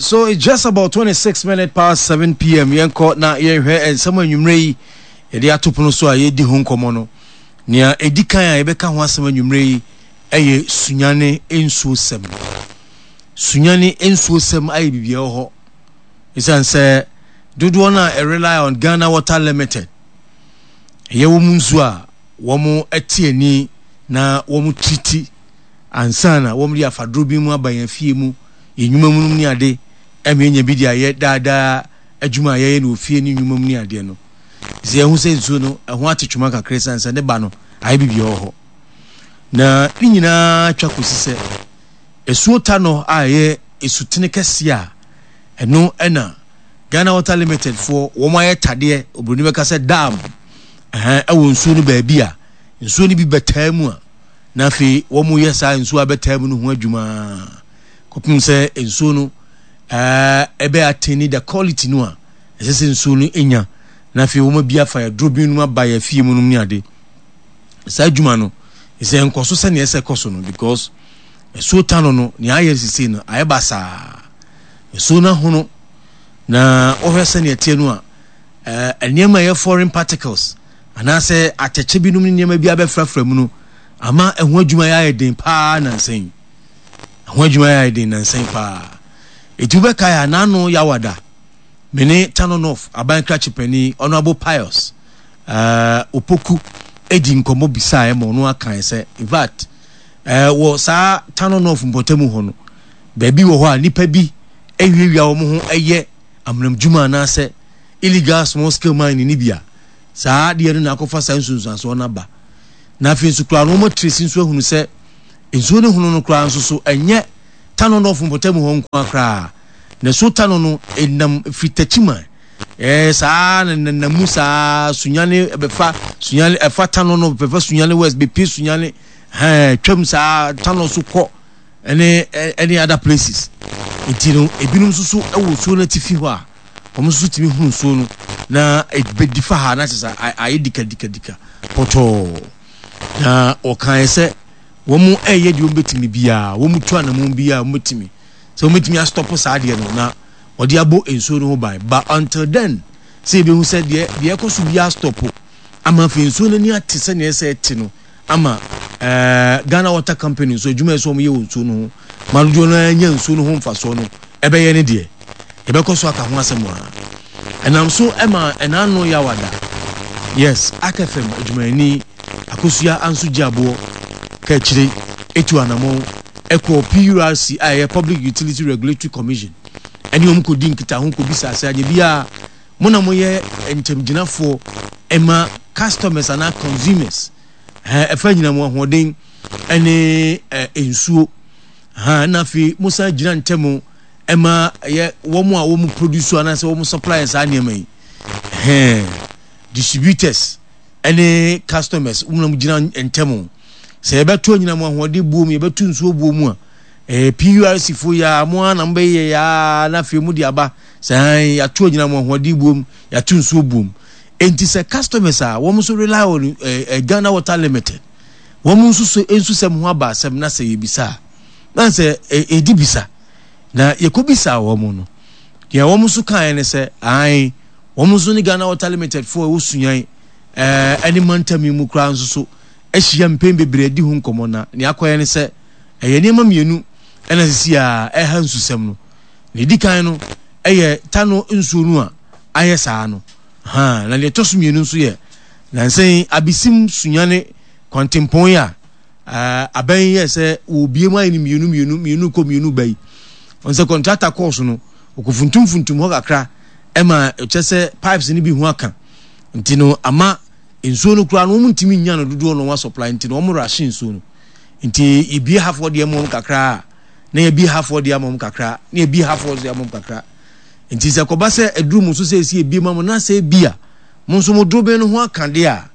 so it's just about 26 minutes past 7 p.m. Yɛnkɔ na yɛnhwɛ nsɛm anwummerɛ yi yɛde ato pono so a yɛdi ho nkɔmmɔ no. Nea ɛdi kan a yɛbɛka ho asɛm anwummerɛ yi ɛyɛ Sunyani nsuosɛm. Sunyani nsuosɛm ayɛ biribi ɛwɔ hɔ. Ɛsiane sɛ dodoɔ no a rely on Ghana Water Limited ɛyɛ wɔn nsuo a wɔn te ani na wɔn triti ansa na wɔde afa duro bi mu aba yɛn afie mu, yɛn nnwuma mu nom ne ade, ɛma yɛnya bi de ayɛ daa daa adwuma a yɛyɛ no wɔ fie ne nnwuma mu ne adeɛ no. Sɛ yɛhu sɛ nsuo no ɛho ate twoma kakra ɛsiane sɛ ne ba no ayɛ biribi wɔ hɔ. Na ne nyinaa twa kɔsi sɛ asuo Tanɔ a ɛyɛ esutene kɛseɛ a ɛno ɛna Ghana Water Limited foɔ wɔn ayɛ tadeɛ, oburoni bɛka sɛ dam, ɛhɛn, ɛwɔ nsuo no baabi a nsuo no bi bɛtaa mu a na afei wɔyɛ saa nsuo a bɛtaa mu no ho adwuma kɔpem sɛ nsuo no ɛbɛ attain the quality no a ɛsɛ sɛ nsuo no nya na afei wɔn abi afa aduro bi nom aba yɛ afie mu nom ne ade. Saa adwuma no sɛ nkɔ so sɛnea ɛsɛ kɔ so no because nsuo tano no nea ayɛ sisi no ayɛ basaa. Nsuo no ahono na wɔhwɛ sɛnea ɛteɛ no a nneɛma ɛyɛ foreign particles anaasɛ atɛkyɛ binom ne nneɛma bi abɛfrafra mu no ama ɛho adwuma yɛ ayɛ den paa nansa yi. Ɛho adwuma yɛ ayɛ den nansa yi paa. Eti wobɛkae a n'ano yawada me ne Tano North aban krakye panin Honourable Pius uh, Opoku edi nkɔmmɔ bisaeɛ ma ɔno akae sɛ in fact uh, wɔ saa Tano North mpɔtamu hɔ no baabi wɔ hɔ a nnipa bi awiawia wɔn ho ɛyɛ amanamdwuma anaasɛ illegal small scale mining no bi a Saa adeɛ no na akɔfa saa nsunsuansoɔ no aba. Na afei nso koraa no wɔn atiresi nso ahunu sɛ nsuo no hono no koraa nso so ɛnyɛ Tano North mpɔtam hɔ nko ara koraa. Na so Tano no ɛnam firi Techiman ɛɛ saa na nenam mu saa Sunyani ɛbɛfa Sunyani ɛfa Tano no bɛfa Sunyani West bɛpie Sunyani hɛn twam saa Tano so kɔ ɛne ɛne other places. Nti no ebinom nso so ɛwɔ nsuo no atifi hɔ a wɔn nso tumi hunu nsuo no na ɛbɛdi fa ha na kyerɛ sɛ ayɛ dikadikadika pɔtɔɔ. Na wɔkaeɛ sɛ wɔn ɛyɛ deɛ wɔbɛtumi biara, wɔn tu anamon biara wɔbɛtumi sɛ wɔbɛtumi astɔpo saa adeɛ no na wɔde abɔ nsuo no ho ban. But until then sɛ yɛbɛhu sɛ deɛ deɛ ɛkɔ so biara stɔpo ama afei nsuo no ani ate sɛdeɛ ɛsɛ ɛte no ama ɛɛ Ghana Water Company nso adwuma ɛsɛ wɔn yɛ wɔ nsuo no ho ma dodoɔ no ara nya nsuo no ho mfasoɔ no ɛbɛyɛ ne deɛ yɛbɛkɔ so aka ho asɛm a ɛnam so ɛma ɛnaano yawada yes Ark FM adwumayɛni Akosua Anso Gyeaboɔ ka akyire etu anamɔn ɛkɔɔ PURC a ɛyɛ Public Utility Regulatory Commission ɛne wɔn kɔdi nkitaho kɔbisa sɛ anyɛ biara Mo na moyɛ ntamgyinafoɔ ma customers anaa consumers ɛfa anyinam ahoɔden ne nsuo na afei mo san gyina ntam ma ɛyɛ wɔn a wɔn produce anaasɛ wɔn supply saa nneɛma yi distributors ne customers wɔn na mo gyina ntam sɛ yɛbɛto anyinam ahoɔden buo mu yɛbɛto nsuo buo mu a PURC fo yi a mo ara na mobɛyɛ ya na afei mo de aba sɛ hann yɛato anyinam ahoɔden buom yɛato nsuo buom enti sɛ customers a wɔn nso rely on eh, eh, Ghana Water Limited wɔn nso so nsusɛm ho aba asɛm na sɛ yɛbisa a na sɛ ɛdi bisa na yɛkɔbisa wɔn no deɛ wɔn nso kaeɛ ne sɛ ae wɔn nso ne Ghana Water Limited foɔ ɛwɔ Sunyani ɛne mantam yi mu koraa nso so ahyia mpɛn bebree adi ho nkɔmmɔ na nea akɔyɛ ne sɛ Ɛyɛ nneɛma mmienu na sisi a ɛha nsusɛm no. Nea edi kan no yɛ Tano nsuo no a ayɛ saa no. Ha, na nea ɛtɔ so mmienu nso yɛ nansa yi Abisim Sunyani kwantempɔn yi a aban yi yɛ sɛ wɔrebie mu ayɛ no mmienu mmienu mmienu kɔ mmienu ba yi. Wɔn sɛ kɔntrata kɔɔ so no, wɔkɔfuntumfuntum hɔ kakra ɛma ɛkyɛ sɛ pipes no bi ho aka. Nti no ama nsuo no koraa no wɔn ntumi nnya no dodoɔ na wɔn asɔpla nti no wɔn rahye nsuo no. Nti yɛbie hafoɔ deɛ ma wɔn kakra a, na yɛbie hafoɔ deɛ ama wɔn kakra, na yɛbie hafoɔ deɛ ama wɔn kakra. Nti sɛ kɔba sɛ aduru mo so sɛ ɛsi ebie ma mo na sɛ ebi a mo nso mo dorobɛn no ho aka deɛ a,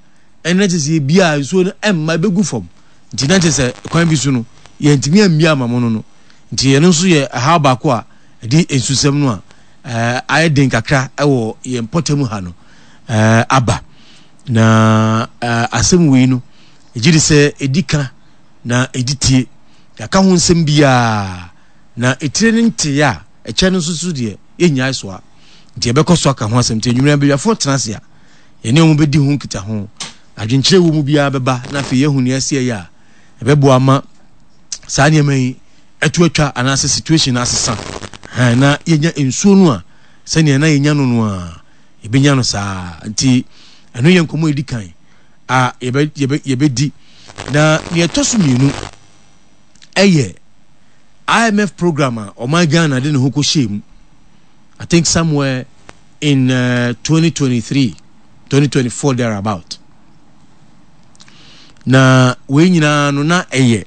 ɛno na kyerɛ sɛ yɛbie a nsuo no ɛmma ɛbɛgu fam. Nti na kyerɛ sɛ kwan bi so no yɛntumi ammie ama mo no no. Nti ɛno nso yɛ ɛhaw baako a ɛde nsusɛm no a ɛɛ ayɛ den kakra ɛwɔ yɛn mpɔtam ha no ɛɛ aba. Na ɛɛ asɛm wei no Megye di sɛ edi ka na edi tie. Yɛaka ho nsɛm biara, na etire no ntee a, Ɛkyɛ no nso so deɛ, yɛnnyae soa. Nti yɛbɛkɔ so aka ho asɛm. Nti anwummerɛ abadwafoɔ tena ase a, yɛne wɔn bɛdi ho nkitaho. Adwenkyerɛ wɔ mu biara bɛba na afei yɛahu nea ɛsɛ yɛyɛ a ɛbɛboa ama saa nneɛma yi ɛto atwa anaasɛ situation no asesa na yɛnya nsuo no a sɛnea na yɛnya no no a yɛbɛnya no saa. Nti ɛno yɛ nkɔmmɔ ɛdi kan a yɛbɛ yɛbɛ yɛbɛdi. Na nea ɛtɔ so mmienu ɛyɛ IMF program a ɔman Ghana de ne ho kɔhyɛɛ mu. I think somewhere in 2023, 2024 thereabout. Na wei nyinaa no na ɛyɛ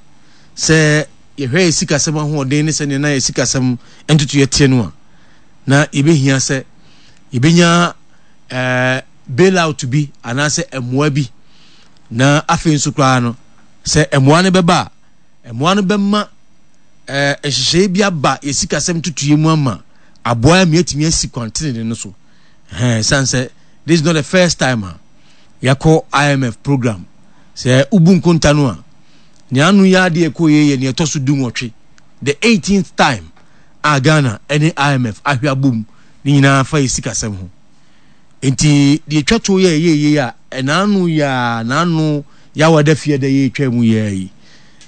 sɛ yɛhwɛ yɛ sikasɛm ahoɔden ne sɛnea na yɛ sikasɛm ntotoeɛ teɛ no a, na yɛbɛhia sɛ yɛbɛnya eh, bailout bi anaasɛ mmoa bi. Na afei nso koraa no, sɛ mmoa no bɛba a, mmoa no bɛma eh, nhyehyɛeɛ bi aba yɛ sikasɛm ntotoeɛ mu ama aboa ma yɛatumi asi kwan tenene no so. Ɛsiane sɛ this is not the first time a yɛakɔ IMF program. Sɛ wobu nkonta no a, nea ano yɛ adeɛ ɛkɔ yɛ yɛ nea ɛtɔ so 18, the 18th time a Ghana ne IMF ahwɛ abom ne nyinaa fa yɛ sikasɛm ho. Nti deɛ ɛtwa to yɛ ɛyɛ yie a ɛnaano yɛ a naano yawa da fie da yɛ ɛtwa mu yɛ yi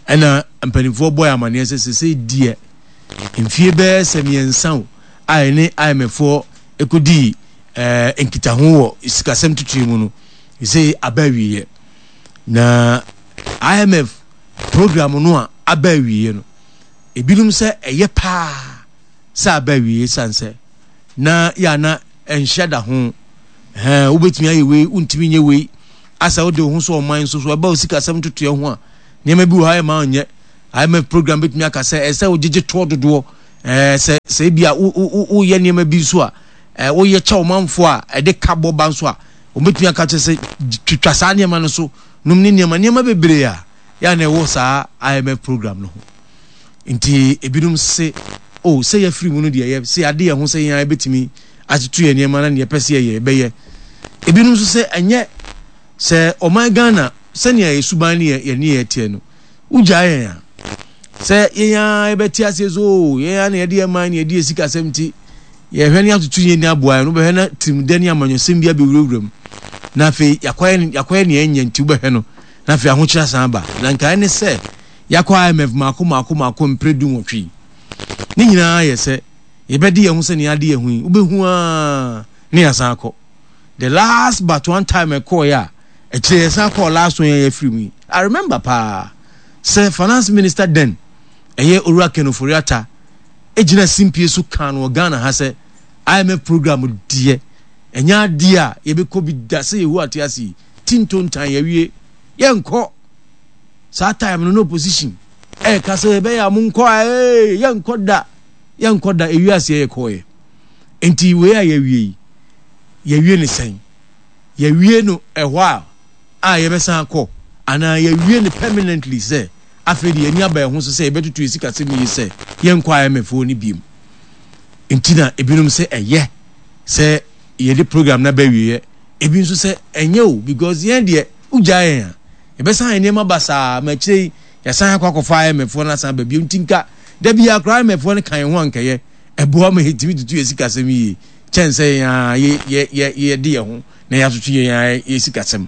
ɛna mpanimfoɔ bɔ yɛ amaneɛ sɛ sɛsɛ deɛ mfie bɛyɛ sɛ mmiɛnsa o a ɛne IMF foɔ ɛkɔdii ɛɛ nkitaho wɔ sikasɛm tutuo mu no sɛ aba awieɛ na IMF program no a aba awieɛ no ebinom sɛ ɛyɛ paa sɛ aba awieɛ san sɛ na yɛ ana ɛnhyɛ da ho ɛɛ wobɛtumi ayɛ wei wontumi nyɛ wei asɛ wode wo ho so ɔman nso so ɛba wo sikasɛm ntotoeɛ ho a nneɛma bi wɔ ha ɛma ɔnyɛ IMF program bɛtumi aka sɛ ɛsɛ wogyegye toɔ dodoɔ ɛɛ sɛ sɛ ebi a woyɛ nneɛma bi nso a ɛɛ woyɛ kyɛ ɔmanfoɔ a ɛde ka bɔ ba nso a wɔbɛtumi aka kyerɛ sɛ twitwa saa nneɛma no so nom ne nneɛma nneɛma bebree a yɛ a na ɛwɔ saa IMF program no ho nti ebinom se o oh, sɛ yɛafiri mu no deɛ yɛ sɛ yɛade yɛn ho sɛ yɛn ara yɛbɛtumi atoto yɛn nneɛma na neɛ yɛpɛ sɛ yɛyɛ yɛbɛyɛ. Ebinom nso sɛ ɛnyɛ sɛ ɔman Ghana sɛnea yɛ suban ne yɛ ne yɛ teɛ no wogyaa yɛn a sɛ yɛn ara yɛbɛte aseɛ so o oh, yɛn ara na yɛde yɛn man na yɛde yɛn sikasɛm nti yɛhwɛ ne atoto yɛn ni aboa yɛn no wobɛhwɛ na tirimdɛ ne amanyɔsɛm bi abɛwurawura mu na afei yɛakɔyɛ yɛakɔyɛ nea ɛnyɛ nti wobɛhwɛ no na afei ahokyere asan aba na nkae ne sɛ yɛakɔ IMF mako mako mako mpere 18 yi. Ne nyinaa yɛ sɛ yɛbɛde yɛn ho sɛ nea ade yɛn ho yi, wobɛhu ara ne yɛasan akɔ. The last but one time ɛkɔɔeɛ a, akyire yɛsan kɔɔ last one yɛn yɛfiri mu yi. I remember paa sɛ finance minister then, ɛyɛ Owura Ken Ofori-Atta, gyina simpie so kaa no wɔ Ghana ha sɛ IMF program deɛ, ɛnyɛ adeɛ a yɛbɛkɔ bi da sɛ Yehowa te ase yi, ti ntontan yɛawie, yɛnkɔ. Saa time no na opposition ɛka sɛ ɛbɛyɛ a monkɔ a ee yɛnkɔ da yɛnkɔ da ewi aseɛ yɛkɔɔyɛ nti wei a yɛawie yi yɛawie ne sɛn yɛawie no ɛhɔ a a yɛbɛsan akɔ anaa yɛawie no permanently sɛ afei de yɛni aba ɛho so sɛ yɛbɛtoto yɛ sikasɛm yie sɛ yɛnkɔ IMF hɔ no biem nti na ebinom sɛ ɛyɛ sɛ yɛde program no aba awieɛ ebi nso sɛ ɛnyɛ o because yɛn deɛ wogyaa yɛn a Yɛbɛsan ayɛ nneɛma basaa ma akyire yi yɛasan akɔ akɔfa IMF foɔ no asan aba bio. Nti nka da biara koraa IMF foɔ no ka yɛn ho a nka ɛyɛ. Ɛboa ma yɛtumi tutu yɛn sikasɛm yie kyɛn sɛ yɛn ara yɛ yɛ yɛ yɛde yɛn ho na yɛatoto yɛn ara yɛn sikasɛm.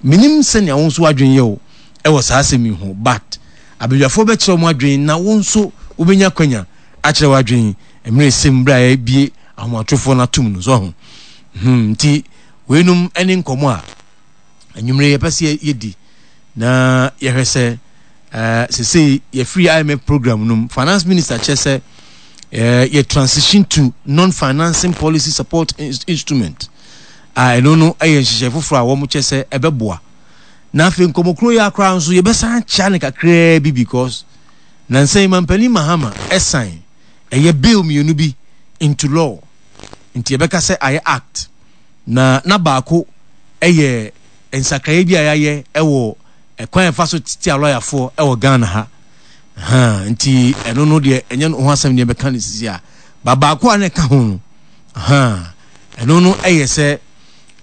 Menim sɛnea wo nso w'adwene yɛ wo wɔ saa asɛm yi ho but abadwafoɔ bɛkyerɛ wɔn adwene na wo nso wobɛnya kwanya akyerɛ w'adwene mmerɛ ɛsɛm berɛ a yɛabie ahomatorofoɔ no atom no so ho. Hmm, nti weinom ne nkɔmmɔ a Anwummere yɛpɛ sɛ yɛdi na yɛhwɛ sɛ uh, sesei yɛfiri IMF program no mu. Finance minister kyerɛ sɛ uh, yɛ transition to non-financing policy support instrument a ɛno no yɛ nhyehyɛ foforɔ a wɔn kyerɛ sɛ ɛbɛboa. Na afei nkɔmmɔkuro yi akora nso yɛbɛsan akyea no kakraa bi because nansa yi mampanin Mahama ɛsan ɛyɛ bill mmienu bi into law nti yɛbɛka sɛ ayɛ act. Na na baako yɛ nsakraeɛ bi a yɛayɛ wɔ kwan a yɛfa so tete alɔyafoɔ wɔ Ghana ha. Ha, nti ɛno no deɛ ɛnyɛ ho asɛm deɛ bɛka no sisi a. Ba baako a na ɛka ho no, ha, ɛno no yɛ sɛ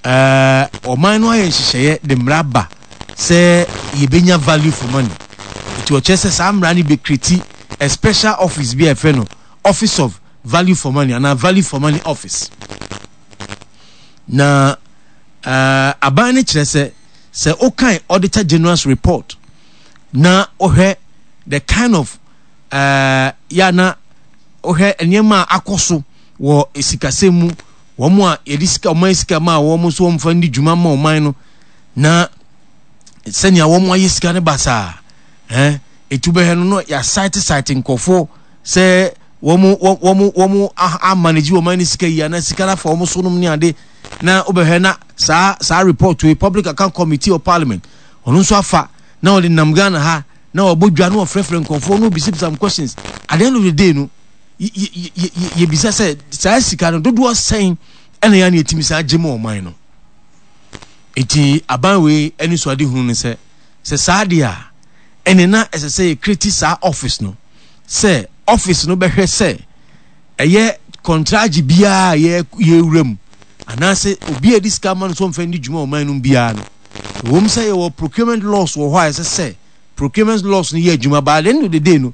ɛɛ ɔman no ayɛ nhyehyɛeɛ de mmara ba sɛ yɛbɛnya value for money. Nti ɔkyerɛ sɛ saa mmara no bɛkreti a special office bi a yɛfrɛ no Office of Value for Money anaa Value for Money Office. Na uh, aban no kyerɛ sɛ sɛ wokan Auditor General's report na wohwɛ the kind of uh, ya na wohwɛ nneɛma a akɔ so wɔ sikasɛm mu wɔn a yɛde sika ɔman sika ma wɔn nso wɔn fa ndi dwuma ma ɔman no na sɛnea wɔn ayɛ sika no basaa ɛn etu bɛhɛ no no yɛasaete saete nkurɔfoɔ sɛ wɔn wɔn wɔn amanage wɔn ani sika yi anaa sika no afa wɔn so nom ne ade na wobɛhwɛ na saa saa report yi public account committee of parliament ɔno nso afa na ɔde nam Ghana ha na ɔbɔ dwa na ɔfrɛfrɛ nkurɔfoɔ na ɔbisabisa m questions at the end of the day no yɛbisa sɛ saa sika no dodoɔ sɛn ɛna yɛ ne yɛtumi saa gye ma ɔman no nti aban wei ani so ade hunu no sɛ sɛ saa deɛ a ɛne na ɛsɛ sɛ yɛkreti saa office no sɛ office no bɛhwɛ sɛ ɛyɛ kɔntragye biara a yɛwura mu anaasɛ obi a ɛde sika ama no sɛ ɔmfa ndi dwuma ɔman no mu biara no ɛwom sɛ yɛwɔ procurement laws wɔ hɔ a ɛsɛ sɛ procurement laws no yɛ adwuma but at the end of the day no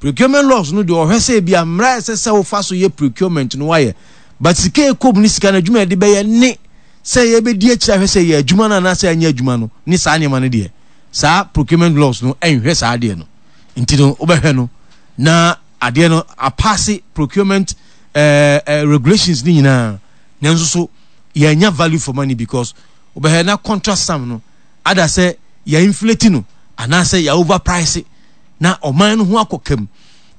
procurement laws no deɛ ɔhwɛ sɛ ebi a mmara ɛsɛ sɛ wofa so yɛ procurement no wayɛ but sika ɛkɔm ne sika no adwuma yɛde bɛyɛ ne sɛ yɛbɛdi akyire ahwɛ sɛ yɛ adwuma no anaasɛ anyɛ adwuma no ne saa nneɛma no deɛ saa procurement laws no ɛnhwɛ saa adeɛ no nti no wobɛhwɛ no na adeɛ no apaase procurement eh, eh, regulations ne nyinaa nanso so yɛanya value for money because wobɛhwɛ na contract sum no ada sɛ yɛ inflate no anaasɛ yɛ overprice na ɔman no ho akɔ kam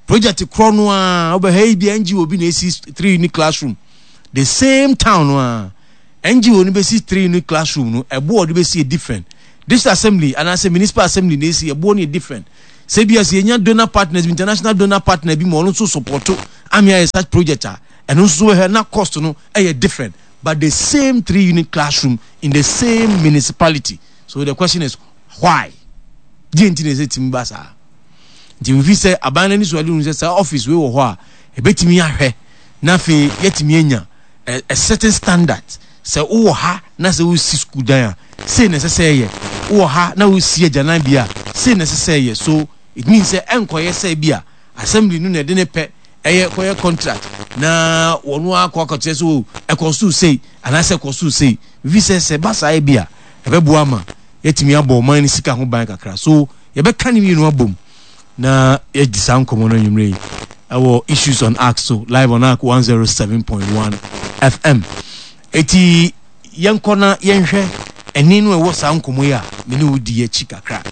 project korɔ no a wobɛhwɛ yi bi NGO bi na esi three unit classroom the same town no a NGO no bɛsi three unit classroom no ɛboɔ ɔde bɛsi yɛ different district assembly anaasɛ municipal assembly na esi ɛboɔ no yɛ different sɛ bi a sɛ yɛnya donor partners international donor partner bi ma ɔno nso support ame ayɛ such project a ɛno nso so bɛhwɛ na cost no ɛyɛ different but the same three unit classroom in the same municipality so the question is why deɛ nti na ɛsɛ tumi ba saa nti mfi sɛ aban no ani so ade hu sɛ saa office wei wɔ hɔ a ɛbɛtumi ahwɛ na afei yɛatumi anya a, a certain standard sɛ wowɔ ha na sɛ wosi sukuu dan a sei na ɛsɛ sɛ ɛyɛ wowɔ ha na wosi agyanan bi a sei na ɛsɛ sɛ ɛyɛ so it means sɛ ɛnkɔyɛ sɛ bi a assembly no na ɛde ne pɛ ɛyɛ kɔyɛ contract na wɔn akɔ akɔkyerɛ sɛ o ɛkɔ so sei anaasɛ ɛkɔ so sei fi sɛ sɛ ba saa bi a ɛbɛboa ma yɛatumi abɔ ɔman no sika ho ban kakra so yɛbɛka ne mmienu abom na yɛadi saa nkɔmmɔ no anwummerɛ yi ɛwɔ issues on ark so live on ark 107.1 fm eti yɛnkɔ na yɛnhwɛ ɛne no ɛwɔ saa nkɔmmɔ yi a me ne wo di akyi kakra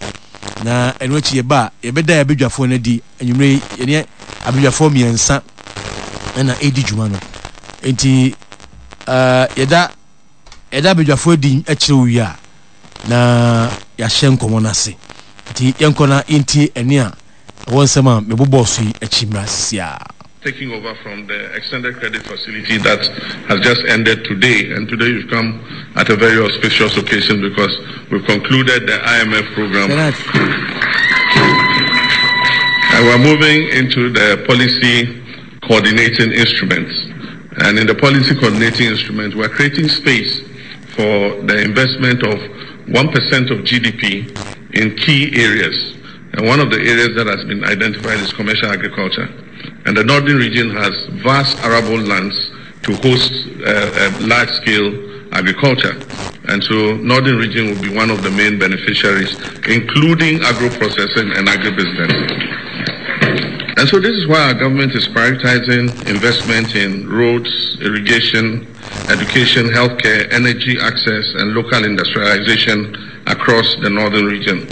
na ɛno akyi yɛba a yɛbɛda yɛ abadwafoɔ no adi anwummerɛ yi yɛne abadwafoɔ mmiɛnsa ɛna ɛdi dwuma no enti uh, yɛda yɛda abadwafoɔ adi akyerɛ wo wie a na yɛahyɛ nkɔmmɔ no ase. Nti yɛnkɔ na yɛntie ɛnne a ɛwɔ nsɛm a mebobɔɔ so yi akyi mmra sisiaa. Taking over from the extended credit facility that has just ended today and today you've come at a very auspicious occasion because we've concluded the IMF program and we're moving into the policy coordinating instruments and in the policy coordinating instrument we're creating space for the investment of 1% of GDP in key areas. And one of the areas that has been identified is commercial agriculture. And the northern region has vast arable lands to host uh, uh, large-scale agriculture. And so northern region will be one of the main beneficiaries, including agro-processing and agribusiness. And so this is why our government is prioritizing investment in roads, irrigation, education, healthcare, energy access, and local industrialization across the northern region.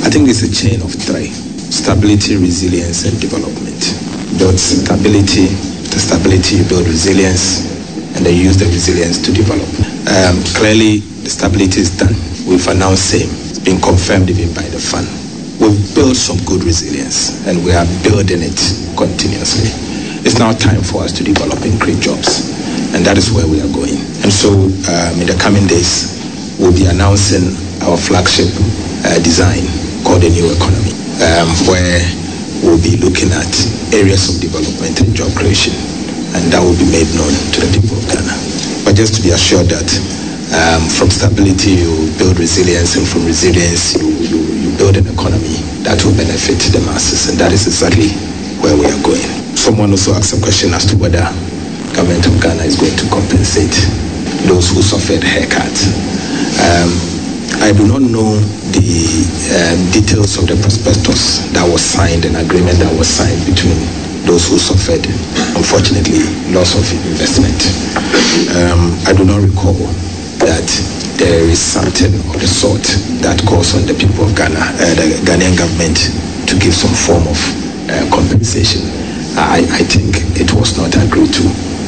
I think it's a chain of three stability, resilience, and development. Build stability, the stability, you build resilience, and then use the resilience to develop. Um, clearly, the stability is done. We've announced same. It's been confirmed even by the fund. We've built some good resilience, and we are building it continuously. It's now time for us to develop and create jobs, and that is where we are going. And so, um, in the coming days, we'll be announcing our flagship uh, design called the New Economy, um, where we'll be looking at areas of development and job creation, and that will be made known to the people of Ghana. But just to be assured that um, from stability you build resilience, and from resilience you, you, you build an economy that will benefit the masses, and that is exactly where we are going. Someone also asked a question as to whether government of Ghana is going to compensate those who suffered haircuts. Um, I do not know the um, details of the prospectus that was signed, an agreement that was signed between those who suffered, unfortunately, loss of investment. Um, I do not recall that there is something of the sort that calls on the people of Ghana, uh, the Ghanaian government, to give some form of uh, compensation. I, I think it was not agreed to.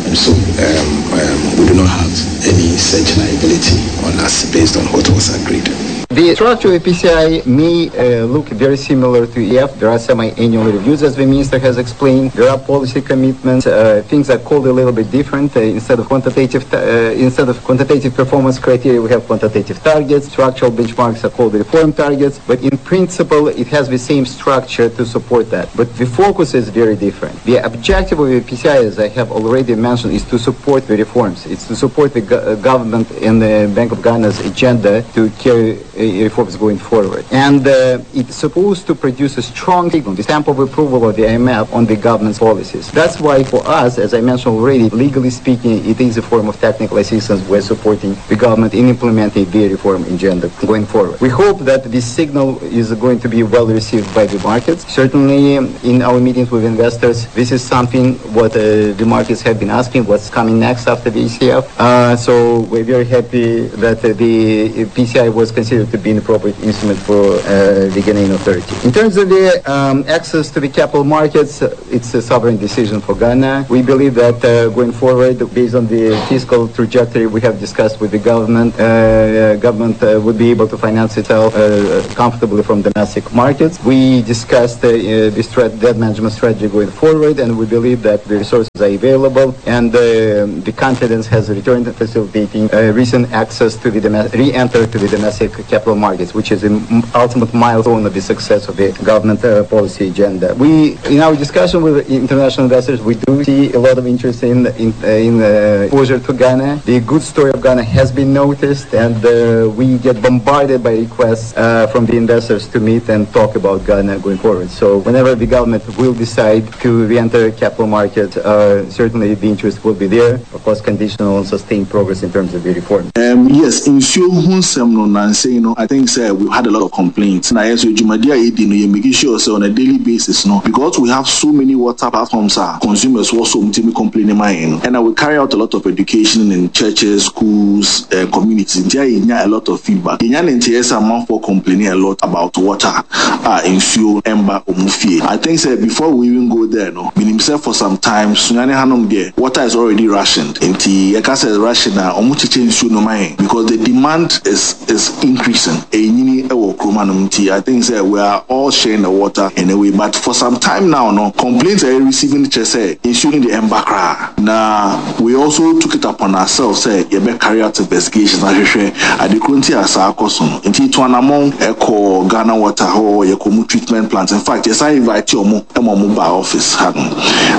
And so um, um, we do not have any such liability on us based on what was agreed. The structure of PCI may uh, look very similar to EF. There are semi-annual reviews, as the minister has explained. There are policy commitments. Uh, things are called a little bit different. Uh, instead of quantitative, uh, instead of quantitative performance criteria, we have quantitative targets. Structural benchmarks are called reform targets. But in principle, it has the same structure to support that. But the focus is very different. The objective of the PCI, as I have already mentioned, is to support the reforms. It's to support the go uh, government and the Bank of Ghana's agenda to carry uh, reforms going forward. And uh, it's supposed to produce a strong signal, the stamp of approval of the IMF on the government's policies. That's why for us, as I mentioned already, legally speaking, it is a form of technical assistance. We're supporting the government in implementing the reform agenda going forward. We hope that this signal is going to be well received by the markets. Certainly, in our meetings with investors, this is something what uh, the markets have been asking, what's coming next after the ECF. Uh, so we're very happy that uh, the PCI was considered to be an appropriate instrument for uh, the Ghanaian authority. In terms of the um, access to the capital markets, it's a sovereign decision for Ghana. We believe that uh, going forward, based on the fiscal trajectory we have discussed with the government, uh, government uh, would be able to finance itself uh, comfortably from domestic markets. We discussed uh, the debt management strategy going forward, and we believe that the resources are available and the confidence has returned, facilitating recent access to the re-enter to the domestic capital markets, which is the ultimate milestone of the success of the government uh, policy agenda. We, in our discussion with international investors, we do see a lot of interest in in, uh, in uh, exposure to Ghana. The good story of Ghana has been noticed, and uh, we get bombarded by requests uh, from the investors to meet and talk about Ghana going forward. So whenever the government will decide to re-enter capital market, uh, certainly the interest will be there. Of course, conditional on sustained progress in terms of the reform. Um, yes, nsuo ho nsɛm no nansa yi no, I think sɛ we've had a lot of complaints. Na yɛn nso dwumadi a yɛdi no, yɛ make sure sɛ on a daily basis no, because we have so many water platforms a consumers wɔ so a wɔtumi complain ma yɛn no, ɛna we carry out a lot of education in churches, schools, uh, communities. Nti a yɛnya a lot of feedback. Yɛnya ne nteɛ sɛ amanfoɔ complaining a lot about water a nsuo mba wɔn fie. I think sɛ before we even go there no, menim sɛ for some time Sunyani hanom deɛ water is already rationed. Nti yɛka sɛ ration a, wɔn kyekyɛ nsuo no ma yɛn because the demand is is increasing. Ɛrenyini wɔ kurom hanom nti I think sɛ we are all sharing the water in a way but for some time now no, complaints a yɛ receive no kyerɛ sɛ nsuo no deɛ ɛmba koraa. Na we also took it upon ourselves sɛ yɛbɛ carry out investigations ahwehwɛ ade koro nti a saa kɔ so no. Nti yɛtu anamɔn kɔɔ Ghana Water hɔ, yɛkɔ ɔmo treatment plant. In fact, yɛsan invite ɔmo ma ɔmo baa office ha nom.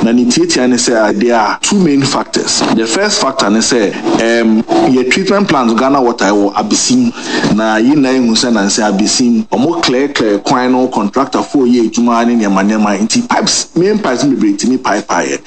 Na ne tiatia ne sɛ there are two main factors. The first factor ne sɛ ɛɛm yɛ treatment plant Ghana Water ɛwɔ Abesim. Na yɛn nyinaa ehu sɛ nansa Abesim ɔmo clear clear kwan no, contractor foɔ yɛ adwuma ne nneɛma nneɛma nti pipes, main pipes no bebree tumi paepaeɛ.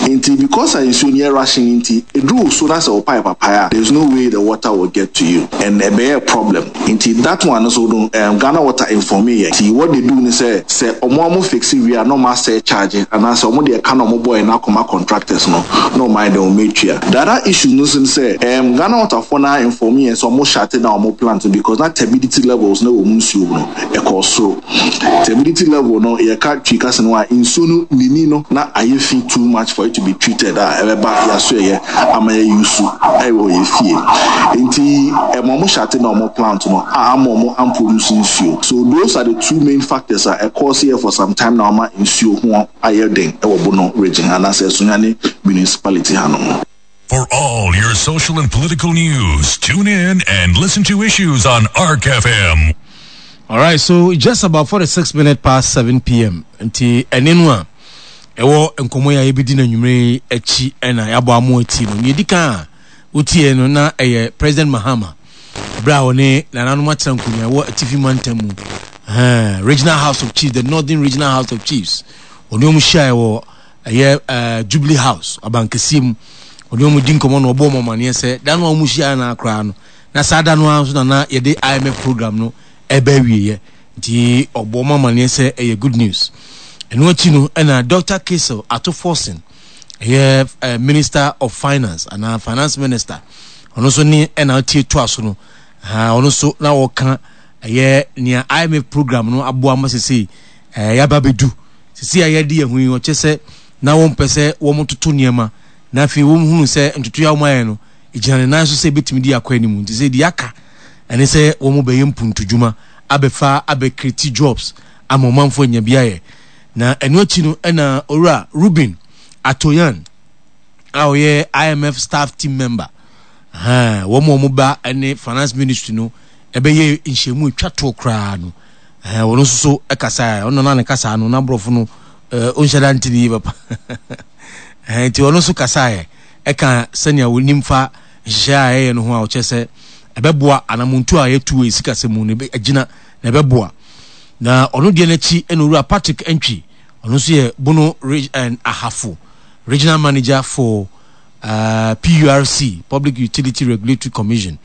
Nti because a nsuo no yɛ rushing nti, ɛduru wo so na sɛ wo pipe apae a, there is no way the water will get to you and ɛbɛyɛ problem. Nti that one nso no um, Ghana Water informee yɛn. Nti what they do ne sɛ, sɛ ɔmo a ɔmo fixe wie a na ɔmo asɛ charge anaasɛ ɔmo de ɛka na ɔmo bɔeɛ no akɔma contractors no na ɔmo ayɛ dɛn ɔmo atua. The other issue no nso ne sɛ, um, Ghana Water foɔ no ara informee yɛn sɛ ɔmo shut down ɔmo plant no because na turbidity levels no wɔ ɔmo nsuo mu no ɛkɔɔ soro. Turbidity level no yɛka Twi kasa no a, nsuo no nini no na ayɛ fi too much for it to be treated a ɛbɛba yɛasoɛyɛ ama yɛ use ɛwɔ yɛ fie. Nti ɛma ɔmo shut down ɔmo plant no a ama ɔmo amproduce nsuo. So those are the two main factors a ɛcause yɛ for some time now ama nsuo ho ayɛ den ɛwɔ Bono region anaasɛ Sunyani municipality hanom. For all your social and political news, tune in and listen to issues on ARC FM. All right, so just about 46 minutes past 7 p.m. Nti ɛne no a ɛwɔ nkɔmmɔ yi a yɛbɛdi no anwummerɛ yi akyi ɛna yɛabɔ amo ati no. Nea ɛdi kan a wotie no na ɛyɛ President Mahama berɛ a ɔne nananom atena nkonnwa ɛwɔ atifi mantam mu regional house of chiefs, the northern regional house of chiefs, ɔne wɔn hyiaeɛ wɔ. ɛyɛ ɛɛ Jubilee House abankɛseɛ mu. Ɔne wɔn di nkɔmmɔ na ɔbɔ wɔn amaneɛ sɛ da no a wɔn hyia no koraa no, na saa da no ara nso na na yɛde IMF program no ɛreba awieɛ. Nti ɔbɔ wɔn amaneɛ sɛ ɛyɛ good news. Ɛno akyi no ɛna Dr. Cassiel Ato Forson, ɛyɛ eh, Minister of Finance anaa Finance Minister, ɔno nso ne ɛna ɔtie toa so no, ɔno nso na ɔka ɛyɛ nea IMF program no aboa ma sesei eh, yɛaba bɛdu sesei a yɛde yɛn ho yi, ɔkyɛ sɛ na wɔmpɛ sɛ wɔtoto nneɛma na afei wɔhunu sɛ ntotoeɛ a wɔayɛ no ɛgyina ne nan so sɛ ɛbɛtumi de akɔ anim nti sɛ deɛ aka ɛne sɛ wɔn bɛyɛ mpuntudwuma abɛfa abɛkreti jobs ama ɔmanfoɔ anya bi ayɛ. Na ɛno akyi no ɛna owura Ruben Atoyan a ɔyɛ IMF staff team member wɔn a wɔn ba ne finance ministry no ɛbɛyɛ nhyiamu atwa toɔ koraa no wɔn nso so ɛkasa ɔno na ne kasa no n'aborɔfo no ɔnhyɛ da nti ne yie papa nti ɔno nso kasaeɛ ɛka sɛnea wɔnim fa nhyehyɛe a ɛyɛ no ho a ɔkyerɛ sɛ ɛbɛboa anamontu a yɛtu wɔ sikasɛm mu no agyina na ɛbɛboa. Na ɔno deɛ n'akyi ɛna owura Patrick Antwi, ɔno nso yɛ Bono and Ahafo Regional Manager for uh, PURC, Public Utility Regulatory Commission.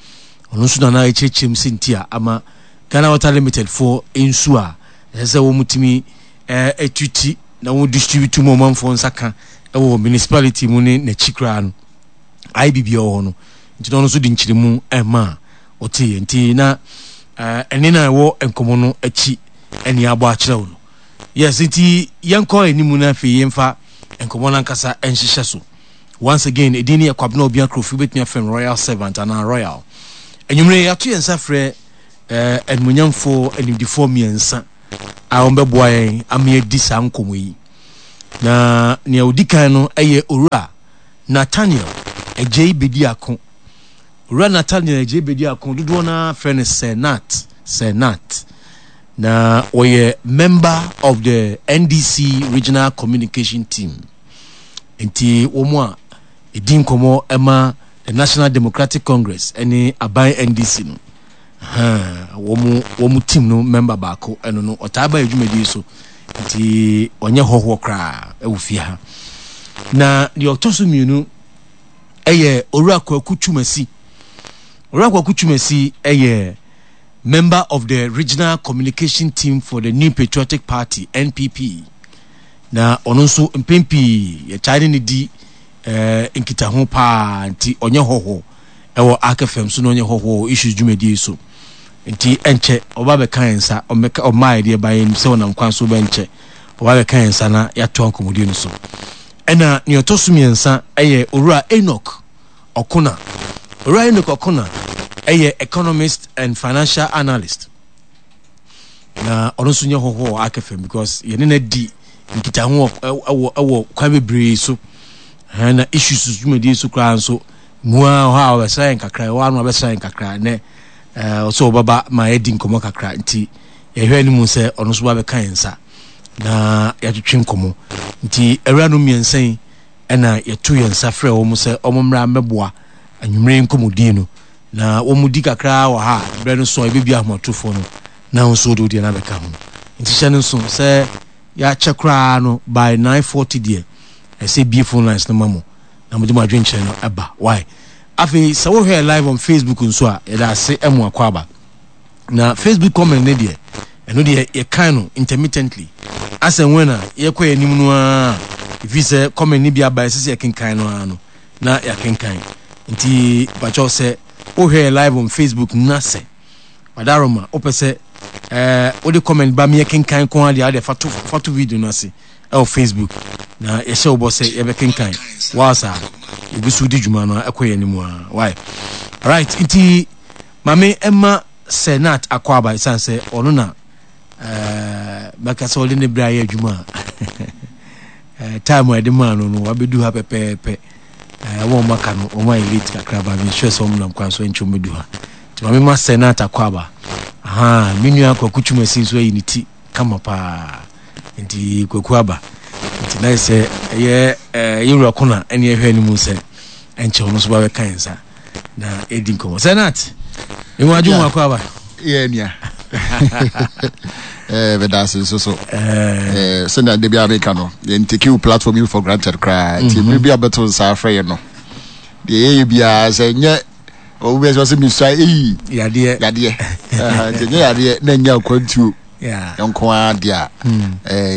Ɔno nso nana ɛkyerɛkyerɛ mu sɛ nti a ama Ghana Water Limited foɔ nsuo a ɛsɛ sɛ wɔn tumi ɛtuti na wɔn distribute mu ɔmanfoɔ nsa ka ɛwɔ municipality mu ne n'akyi koraa no ayɛ biribi wɔ hɔ no nti na ɔno nso de nkyerɛmu ɛma a ɔteeɛ nti na ɛne na ɛwɔ nkɔmmɔ no akyi ɛne abɔ akyerɛ wo no yes nti yɛnkɔ anim no afei yɛmfa nkɔmmɔ no ankasa nhyehyɛ so once again ɛdin ne yɛ Kwabena Obia Krofi wobɛtumi afrɛ no Royal Servant anaa Royal anwummerɛ yɛato yɛn nsa frɛ animuonyamfoɔ animdifoɔ mmiɛnsa a wɔbɛboa yɛn ama yɛadi saa nkɔmmɔ yi na nea ɔdi kan no ɛyɛ owura Nathaniel Adjei Bediako. Owura Nathaniel Adjei Bediako, dodoɔ no ara frɛ no Sir Nat, Sir Nat. Na ɔyɛ member of the NDC Regional Communication Team. Nti wɔn a ɛdi nkɔmmɔ ma the National Democratic Congress ne aban NDC no, wɔn wɔn team no member baako ɛno no ɔtaa ba adwumadie so nti ɔnyɛ hɔhoɔ koraa ɛwɔ fie ha. Na deɛ ɔtɔ so mmienu ɛyɛ Owura Kwaku Twumasi. Owura Kwaku Twumasi ɛyɛ member of the regional communication team for the New Patriotic Party NPP. Na ɔno nso mpɛn pii yɛtaa ne ne di eh, nkitaho paa nti ɔnyɛ hɔhoɔ ɛwɔ Ark FM so na ɔnyɛ hɔhoɔ wɔ issues dwumadie so nti ɛnkyɛ ɔba bɛka yɛn nsa ɔmmɛka ɔmmaa yɛdeɛ ba yɛn sɛ ɔnam kwan so bɛnkyɛ ɔba bɛka yɛn nsa na yɛatoa nkɔmmɔdie no so. Ɛna nea ɔtɔ so mmiɛnsa yɛ Owura Enoch Okona. Owura Enoch Okona yɛ economist and financial analyst. Na ɔno nso nyɛ hɔhoɔ wɔ Ark FM because yɛne no adi nkitaho wɔ wɔ kwan bebree so. Na issues dwumadie so koraa nso mu ara hɔ a ɔbɛsra yɛn kakra, ɛwɔ ano ɔbɛsra yɛn kakra nɛ ɔsɛ ɔbɛba ma yɛadi nkɔmmɔ kakra nti yɛhwɛ anim sɛ ɔno nso ba bɛka yɛn nsa. na yɛatwetwe nkɔmmɔ. Nti awuranom mmiɛnsa yi na yɛto yɛn nsa frɛ wɔn sɛ wɔn mmra mmɛboa anwummere yi nkɔmmɔdie no. Na wɔn di kakra wɔ ha a, berɛ no so a yɛbɛbie ahomatorofoɔ no na wo nso wode wo deɛ no abɛka ho. Nti hyɛ no nso sɛ yɛakyɛ koraa no by 9:40 deɛ ɛsɛ bie phone lines no ma mo na mode mo adwenkyerɛ no ɛba. Why? Afei sɛ wohwɛ live on Facebook nso a yɛda ase ɛmo akɔ aba. Na Facebook comment no deɛ, ɛno deɛ yɛkan no intermittently. As and when a yɛkɔ yɛn anim no ara, ɛfiri sɛ comment no bi aba ɛsɛ sɛ yɛkenkan no ara no, na yɛakenkan. Nti pakyɛw sɛ wohwɛ yɛ live on Facebook na sɛ Wadaroma wopɛ sɛ ɛɛ wode comment ba me yɛkenkan ko ara deɛ wode fa to fa to video no ase ɛwɔ Facebook na yɛhyɛ wo bɔ sɛ yɛbɛkenkan whilst a yɛgu so di dwuma no ɛkɔ yɛn anim ara. Why? Alright, nti Maame mma Sir Nat akwaaba esiane sɛ ɔno na eh, mɛka sɛ ɔde ne berɛ ayɛ adwuma a eh, time a ɛde maa no no wabɛdu ha pɛpɛɛpɛ. Eh, wɔn a aka no wɔn ayɛ late kakra ba me sure sɛ wɔn nam kwan so nkyɛn wɔn bɛdu ha. Nti maame ma Sir Nat akwaaba. Aha, me nua Kwaku Twumasi nso ayi ne ti kama paa. Nti Kwaku aba. Nti na yɛ sɛ ɛyɛ eh, yɛwura kona ɛne ɛhwɛ anim sɛ ɛnkyɛ ɔno nso ba bɛka yɛn nsa. na ɛdi nkɔmmɔ sɛ nat mewɔ adwo mu akɔ aba yɛ nua. Eh, meda ase nso so. Eh, sɛnea da biara meka no, yɛn take wo platform yi for granted koraa. Nti mmere bi a bɛto nsa afrɛ yɛn no, deɛ yɛyɛ biara sɛ nyɛ obi bɛ sɛ ɔsɛ mesua eyi yadeɛ yadeɛ nti nyɛ yadeɛ na nyɛ akwantuo nko ara deɛ a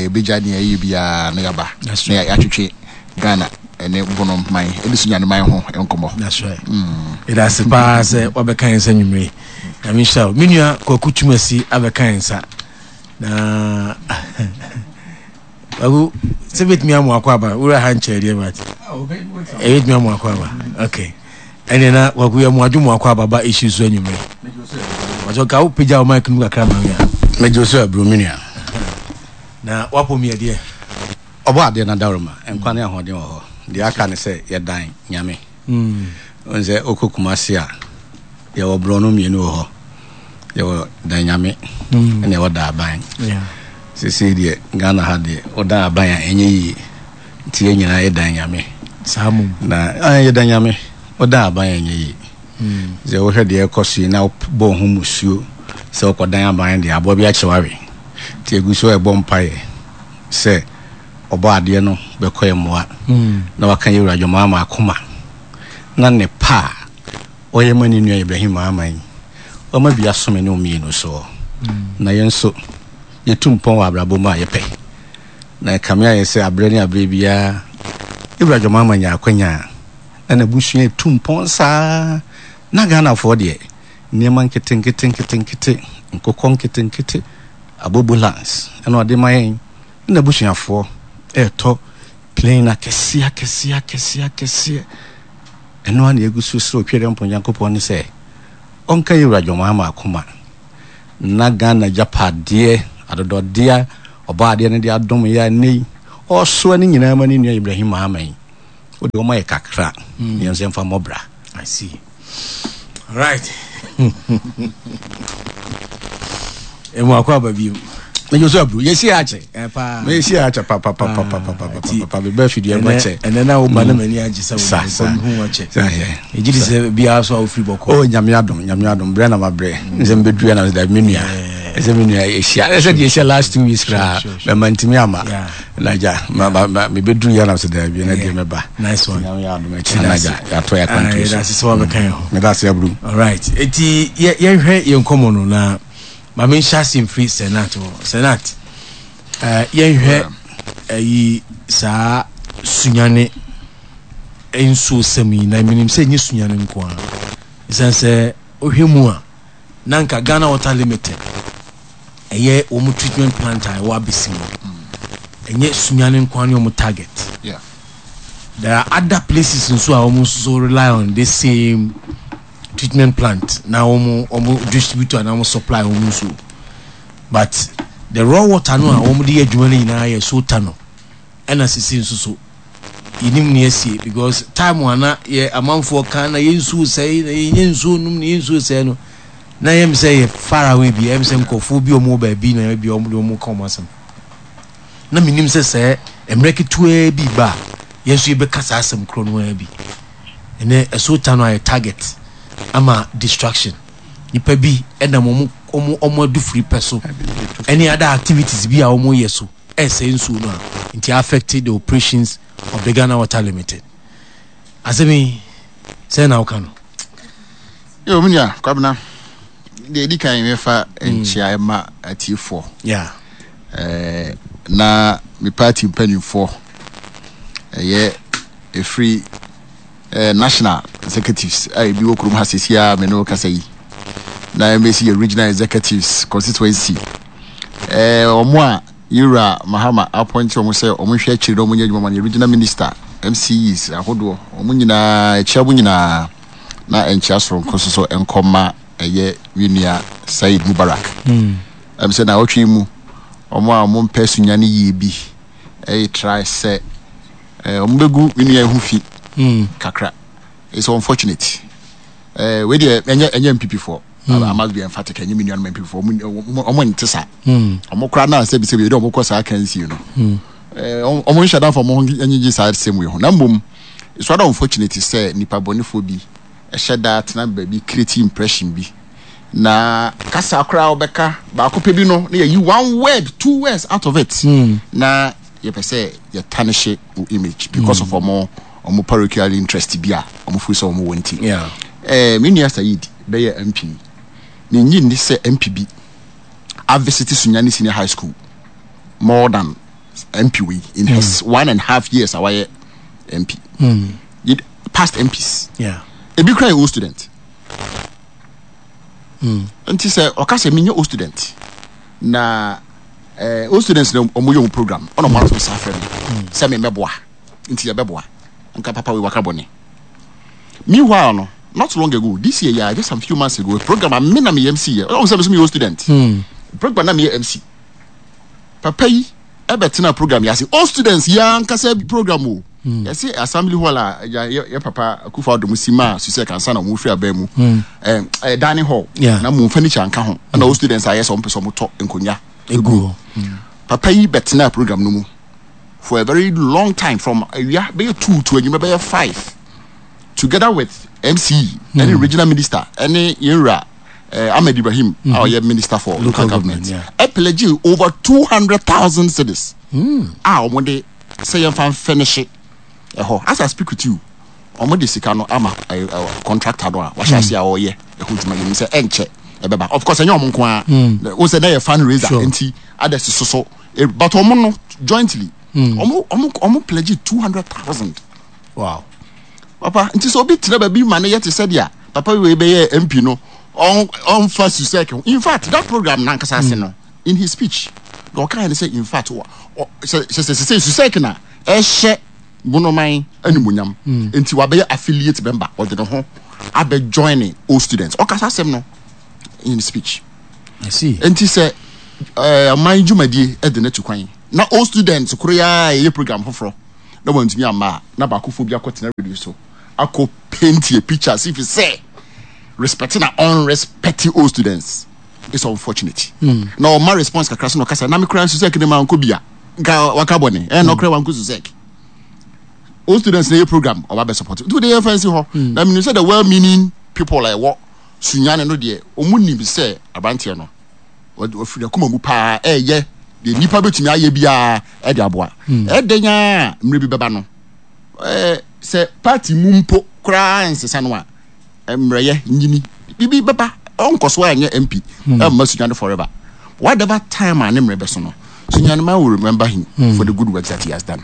ɛbɛgya deɛ ɛyɛ biara na yɛaba na yɛatwetwe Ghana ɛne bono man ɛne sunyane man ho nkɔmmɔ. That's right. Ɛda ase paa sɛ wabɛka yɛn nsa nwummere. Nyame nhyira wo. Me nua Kwaku Twumasi abɛka yɛn nsa. Na Kwaku sɛ bɛtumi amu akɔ aba wura ha nkyɛn deɛ but ɛbɛtumi amu akɔ aba. Okay. Ɛne na Kwaku yɛ mu adwo mu akɔ aba ba issue so anwummere. Wɔsɛ ka wo pagya wo mic no mu kakra ma me a. Megye so aburo me nua. Na wapɔ mi ɛdeɛ. Ɔbɔ adeɛ no adaworoma, nkwa ne ahoɔden wɔ hɔ. Deɛ aka ne sɛ yɛdan Nyame. Wohu sɛ wokɔ Kumasi a, yɛwɔ borɔno mmienu wɔ hɔ. Yɛwɔ Dan Nyame ɛna yɛwɔ Daaban. Seesei deɛ Ghana ha deɛ, wodan aban a ɛnyɛ yie. Nti yɛn nyinaa yɛdan Nyame. Saa mmom. Na yɛdan Nyame, wodan aban a ɛnyɛ yie. Sɛ wohwɛ deɛ ɛrekɔ so yi na wobɔ wo ho mmusuo sɛ wokɔdan aban deɛ, aboa bi akye wo awe. Nti yɛgu so rebɔ mpaeɛ. sɛ Ɔbɔadeɛ no bɛkɔ yɛn mmoa na waka yɛn Wura John Mahama akoma na ne pa a ɔyɛ ma ne nua Ibrahim Mahama yi, wama bi aso me ne wo mmienu soɔ. Na yɛn nso, yɛtu mpɔn wɔ abrabɔ mu a yɛpɛ. Na ɛkame ayɛ sɛ aberɛ ne aberɛ biara, yɛn Wura John Mahama nya akwanya a, na n'abusua retu mpɔn saa. Na Ghanafoɔ deɛ, nneɛma nketenkete nketenkete, nkokɔ nketenkete, Abobulance na ɔde ma yɛn ne n'abusuafoɔ retɔ plane akɛseɛ akɛseɛ akɛseɛ akɛseɛ. Ɛno ara na yɛgu so srɛ Otwedeɛmpɔn Nyankopɔn ne sɛ ɔnka yɛn Wura John Mahama akoma na Ghana agyapadeɛ adodɔdeɛ a Ɔbɔadeɛ no de adom yɛn a nnɛ yi ɔresoa ne nyinaa ma ne nua Ibrahim Mahama yi, wode ɔma yɛ kakra na yɛn nso yɛmfa mmɔ bra. I see. Right. Emu akɔ aba bi mu. Mejọ so aburo yɛsi akyɛ. Eh, Meyɛsi akyɛ papapapapapapa meba afidie mu akyɛ. Ɛnɛ na woba na m'ani agye sɛ wo hu akyɛ. Megye di sɛ biara so a wofiri bɔkɔ. Oh nyame adom nyame adom brɛ na mabrɛ. Nsɛ mbɛduru na mesɛ me nua. Ɛsɛ me nua ɛhyia ɛsɛ deɛ ɛhyia last 2 weeks koraa mɛma ntumi ama. Na gya ma ma ma mebɛduru yɛ na mesɛ daabi ɛnɛ deɛ mɛba. Nice one. Nyame yɛ adom akyi na gya yɛatɔ yɛ akwantuo so. Yɛda ase sɛ wabɛka yɛn ho. Meda ase aburu. All right. Eti yɛnhwɛ yɛn nkɔmmɔ no na ma menhyɛ ase mfiri Senat hɔ. Senat, eh, yɛnhwɛ ayi saa Sunyane nsuo sɛm yi na menim sɛ ɛnyɛ Sunyane nko ara. Ɛsiane sɛ wohwɛ mu a na nka Ghana Water Limited ɛyɛ wɔn treatment plant a ɛwɔ abɛsi mu. Ɛnyɛ Sunyane nko ara ne wɔn target. Yeah. There are other places nso a wɔn nso so rely on this same treatment plant na wɔn wɔn distribute anaa wɔn supply wɔn nsuo but the raw water no a wɔn de yɛ adwuma no nyinaa yɛ sota no ɛna sisi nso so yɛnim ne asie because time a na yɛ amanfoɔ ka na yɛ nsuo sɛe na yɛnyɛ nsuo nom na yɛ nsuo sɛe no na yɛm sɛ yɛ far away bi ɛm sɛ nkurɔfoɔ bi wɔn wɔ baabi na bi wɔn de wɔn ka wɔn asɛm na menim sɛ sɛ mmerɛ ketewaa bi ba a yɛn nso yɛbɛka saa asɛm korɔ no ara bi Ɛnɛ ɛso ta no ayɛ target ama destruction. Nipa bi ɛnam wɔn wɔn wɔn adufiri pɛ so ɛne other activities bi a wɔn yɛ so ɛsɛe nsuo no a nti affect the operations of the Ghana Water Limited. Asɛm yi sɛn na woka no? Yo, me nua Kwabena, deɛ ɛdi kan mefa nkyea ɛma atiefoɔ. Yeah. Eh, na me party mpanimfoɔ ɛyɛ ɛfiri eh, national executives a ebi wɔ kurom ha sɛsi a me ne wo kasa yi na ɛmɛsi yɛ regional executives constituency eh, wɔn a yɛwura Mahama apɔnte wɔn sɛ wɔn nhwɛ akyiri na wɔn nyɛ adwuma ma no yɛ regional minister MCEs ahodoɔ wɔn nyinaa ɛkyia wɔn nyinaa na nkyia soronko nso so nkɔma ɛyɛ me nua Said Mubarak ɛm sɛ na ɔtwe mu wɔn a wɔn mpɛ sunyane yie bi ɛyɛ try sɛ Eh, wɔn bɛgu me nua yi ho fi hmm. kakra. It's unfortunate. Eh, wei deɛ ɛnyɛ ɛnyɛ NPP foɔ. Hmm. I must be emphatic. Ɛnyɛ me nuanom NPP foɔ. Wɔn nte saa. Hmm. Wɔn koraa naa sɛbi sɛbi yɛde wɔn kɔ saa kansie no. Eh, wɔn nhyɛ danfo wɔn ho nyigye saa sɛm wei ho. Na mmom, it's rather unfortunate sɛ nipa bɔnefoɔ bi ɛhyɛ daa tena baabi create impression bi. Na kasa koraa wobɛka baako pɛ bi no na yɛyi one word, two words out of it. Mm. Na yɛpɛ sɛ yɛtanehye wo image because mm. of ɔmo ɔmo parochial interest bi a ɔmo firi sɛ ɔmo wɔ nti. Yeah. Eh, me nua Said bɛyɛ MP. Menyi nni sɛ MP bi avisiti Sunyani Senior High School more than MP wei in mm. his 1.5 years a wayɛ MP. Mm. Past MPs. Yeah. Ebi kura yɛ old student. Mm. Nti sɛ ɔka sɛ menyɛ old student na eh, old students na ɔmo yɛ ɔmo program ɔna ɔmo ato nsa afrɛ me mm. sɛ me mɛboa nti yɛbɛboa nka papa wei waka bɔne. Meanwhile no not long ago this year yeah, just some few months ago program a me na meyɛ MC yɛ ɔmo sɛ me so meyɛ old student. Mm. Program na meyɛ MC. Papa yi ɛbɛtena program yɛ ase old students yɛ ankasa program o. Hmm. Yɛse assembly hall a yɛ yɛ papa Akufo Addo si maa Susek ansa na wɔn firi aban mu. Hmm. Ɛɛ eh, dining hall. Na mu furniture nka ho. Ɛna old students ayɛ sɛ wɔn pɛ sɛ wɔn tɔ nkonnwa. Egu hɔ. Hmm. Papa yi bɛtena program no mu for a very long time from awia bɛyɛ 2 to anwummerɛ bɛyɛ 5 together with MC ɛne regional minister ɛne yɛn wura eh, Ahmed Ibrahim a ɔyɛ minister for local government ɛpɛlɛgye over 200,000 cedis a wɔn de sɛ yɛmfa mfɛnehye ɛhɔ. As I speak with you, wɔn de sika no ama eh, eh, contractor no a wahyɛ ase a ɔreyɛ ɛho dwuma. Yɛnim sɛ ɛnkyɛ ɛbɛba. Of course, ɛnyɛ wɔn nko ara. Wo sɛ na yɛ fundraiser nti others soso, but wɔn no jointly wɔn pledge 200,000. Wow. Papa, nti sɛ obi tena baabi ma no yɛ te sɛ deɛ papa wei bɛyɛ MP no, ɔnfa susɛk ho. In fact, that program nankasa ase no, in his speech, deɛ ɔkaeɛ ne sɛ in fact, sɛ sɛ sɛ sɛ susɛk na ɛhyɛ Bonoman animuonyam, nti wabɛyɛ affiliate member, ɔde ne ho abɛ join old students. Ɔkasa asɛm no in his speech. I see. Nti sɛ ɔman dwumadie de no atu kwan na old students koro yi ara yɛyɛ program foforɔ na wantumi amma a, na baakofoɔ bi akɔtena radio so akɔ paint a picture as if sɛ respect na unrespect old students. It's unfortunate. Na ɔma response kakra so na ɔkasa na me koraa Susek ne ma nkɔ bia nka waka bɔne ɛna ɔkora wankɔ Susek. Old students na yɛ program ɔba bɛ support. Nti wode yɛmfa nsi hɔ. Na menim sɛ the well meaning people a ɛwɔ Sunyani no deɛ ɔmu nim sɛ aberanteɛ no ɔfiri akoma mu paa ɛyɛ deɛ nnipa bɛtumi ayɛ biara ɛde aboa. Ɛdɛn a mmerɛ bi bɛba no sɛ party mu mpo koraa nsesa no a mmerɛyɛ nyini biribi bɛba ɔnkɔ so anyɛ MP ɛmma Sunyani forever. Whatever time a ne mmerɛ bɛso no Sunyani man will remember him for the good works that he has done.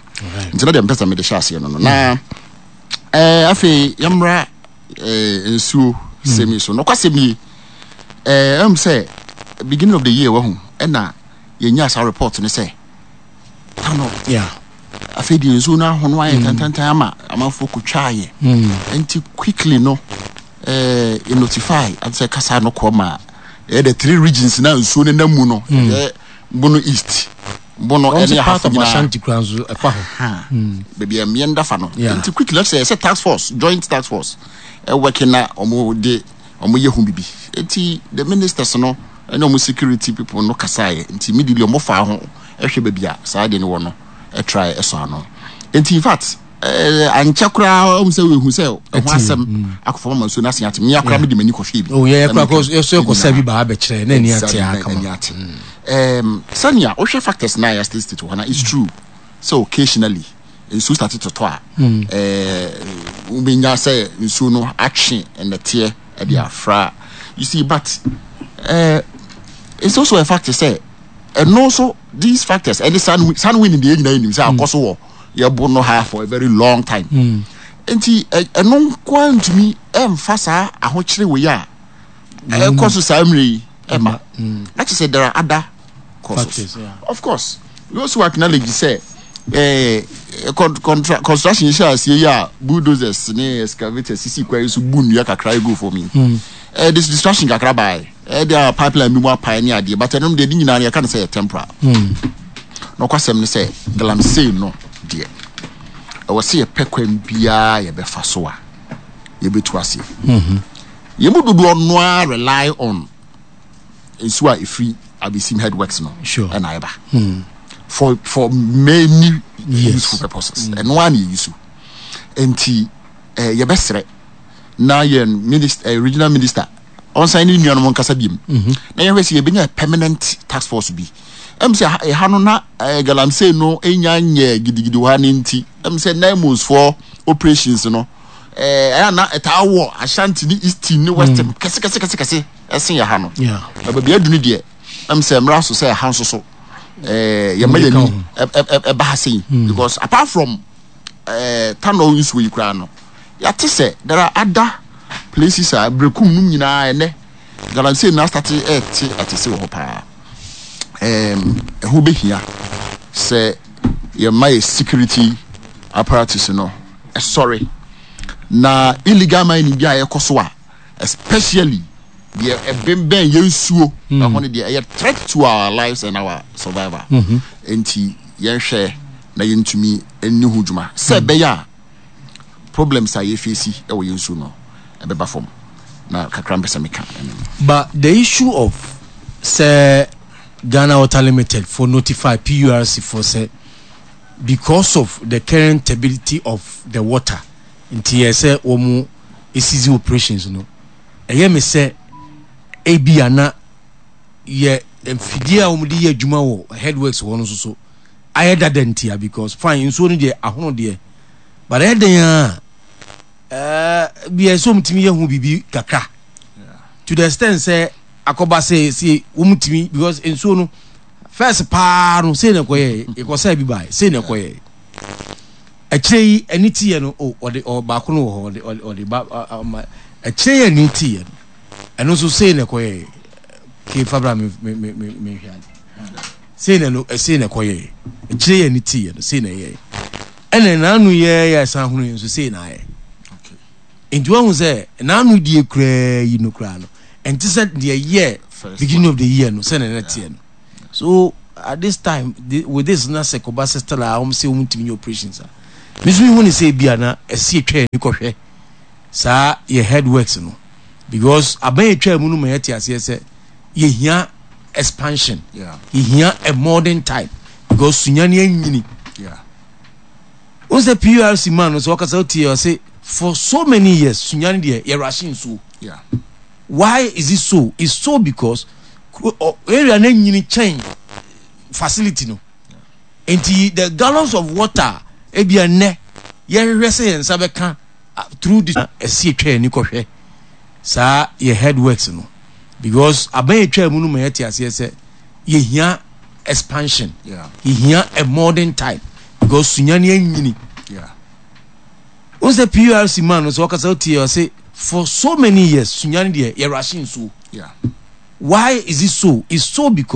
Nti na deɛ mpɛ sɛ mede hyɛ aseɛ no no na afei yɛmmra nsuo sɛm yi so. Nokwasɛm nie, ɛm sɛ beginning of the year wahu ɛna yɛnyaa saa report no sɛ tano afei deɛ nsuo no ahono ayɛ tantantan ama amanfoɔ kɔtwaeɛ. Nti quickly no yɛ notify sɛ kasa no kɔ ma ɛyɛ the three regions na nsuo no nam mu no, ɛyɛ Bono East, Bono ɛne Ahafo part of nyinaa. Ashanti kura nso ɛfa hɔ. Baabi a mmea da fa no. Nti quickly sɛ ɛsɛ task force, joint task force ɛwɔke na wɔn de wɔn yɛ ho bibi. Nti the ministers no ɛne wɔn security people no kasaeɛ. Nti immediately wɔn fa ho ɛhwɛ baabi a saa deɛ no wɔ no ɛtry ɛsɔ ano. Nti in fact ankyɛ koraa wɔn sɛ ehu sɛ ɛho asɛm akɔfam ama nsuo no asen ate. Mmea koraa mi de m'ani kɔhwɛ bi. Oh yɛ kora kɔ yɛ so kɔ sɛ bi ba abɛkyerɛ na ani ate akama. Ani ate. Sɛnea wohwɛ factors na yɛ state state wɔ hɔ na it's true sɛ occasionally nsuo start totɔ a wobɛnya sɛ nsuo no atwe nnɛteɛ de afra, you see, but it's also a fact sɛ ɛno nso these factors ɛne sun wind deɛ nyinaa nim sɛ akɔ so wɔ yɛbo no ha for a very long time, nti ɛno nkoa ntumi ɛmfa saa ahokyere wei a ɛkɔ so saa mmerɛ yi ɛma na kyerɛ sɛ there are other causes. Factors, yeah. Of course, we also acknowledge sɛ construction hyɛ aseɛ yi a bulldozers ne excavators sisi kwan yi so bu nnua kakra egu fam yi. This distraction kakra baae. De a pipeline bi mu apae ne adeɛ, but ɛnom deɛ ne nyinaa no yɛka no sɛ yɛ temporal. Na ɔkwasɛm ne sɛ galamsey no deɛ ɛwɔ sɛ yɛpɛ kwan biara yɛbɛfa so a yɛbɛtu aseɛ. Yɛn mu dodoɔ no ara rely on nsuo a ɛfiri Abesim headworks no ɛna ɛba for many useful purposes. Ɛno ara na yɛyi so. Nti yɛbɛsrɛ na yɛn minister, regional minister. ɔnsan ne nuanom nkasa biem mhm. na yɛhwɛ sɛ yɛbɛnya permanent task force bi. Ɛm sɛ ɛha no na eh, galamsey no nya nyɛ gidigidi wɔ ha no nti ɛm sɛ naimos foɔ operations no eh, ɛyɛ na ɛtaa wɔ Ashanti ne Eastern ne Western mm. kɛse kɛse kɛse kɛse ɛsen yɛ ha no. Na baabi adu no deɛ ɛm sɛ mmara so sɛ ɛha nso so eh, yɛma yɛni ɛba ha sei hmm. because apart from eh, tanɔ nsuo yi koraa no yɛate sɛ there are other places a berekum nom nyinaa ɛnɛ galamsey na asate ɛte atese wɔ hɔ paa. Ɛho bɛhia sɛ yɛma yɛ security apparatus no ɛsɔre na illegal mining bi a ɛkɔ so a especially deɛ ɛbɛnbɛn yɛn nsuo hmm. ɛho no deɛ ɛyɛ threat to our lives and our survival mm-hmm. nti yɛnhwɛ na yɛntumi nni ho dwuma sɛ hmm. ɛbɛyɛ a problems a yɛfeesi wɔ yɛn nsuo no ɛbɛba fam na kakra mpɛ sɛ meka ɛno. But the issue of sɛ Ghana Water Limited for notify PURC for sɛ because of the current turbidity of the water nti yɛ sɛ wɔn seize operations no ɛyɛ me sɛ ebia na yɛ mfidie a wɔn de yɛ adwuma wɔ headworks hɔ no nso so ayɛ dada ntia because fine nsuo no deɛ ahono deɛ but ɛyɛ den a ɛɛ bi ɛsɛ wɔn tumi yɛ ho biribi kakra to the extent sɛ akɔba sɛ sɛ wɔn tumi because nsuo no first paa no sei na ɛkɔyɛ ɛkɔsɛ bi baa sei na ɛkɔyɛ akyire yi ɛni ti yɛ no o ɔde ɔ baako no wɔ hɔ ɔde ɔde ɔde ba ama akyire yi ɛni ti yɛ no ɛno nso sei na ɛkɔyɛ kee fabra mi mi mi mi hwɛ ade. Sei na ɛno, sei na ɛkɔyɛɛ. Akyire yi a ani teeɛ no, sei na ɛyɛɛ. Ɛna n'ano yɛɛ yɛ ɛsan hono yɛ nso, sei na ayɛ. Nti wahu sɛ n'ano die koraa yi no koraa no, ɛnte sɛ deɛ ɛyɛɛ beginning of the year no, sɛ na ɛna teɛ no. So at this time, the, with this na sɛ kɔba sɛ still a wɔn sɛ wɔn ntumi nyɛ operations a, me nso mehu ne sɛ ebi a na ɛsi atwa yɛn ani kɔhwɛ saa yɛ headworks no because abɛn atwa mu no ma yɛte aseɛ sɛ yɛhia expansion yɛhia a modern type because sunyani anyini wọn sɛ PURC man no sɛ ɔkasa wotie ɔse for so many years sunyani deɛ yɛrahye nsuo why is it so? It's so because area no anyini kyɛn facility no nti the gallons of water ebi ɛnɛ yɛhwehwɛ sɛ yɛn nsa bɛka through this ɛsi atwa yɛn ani kɔhwɛ saa yɛ headworks no because aban atwa mu no ma yɛte aseɛ sɛ yɛhia expansion yɛhia a modern type because sunyani anyini wɔn sɛ PURC man no sɛ ɔkasa wotie ɔse for so many years sunyani deɛ yɛrahye nsuo why is it so? It's so because.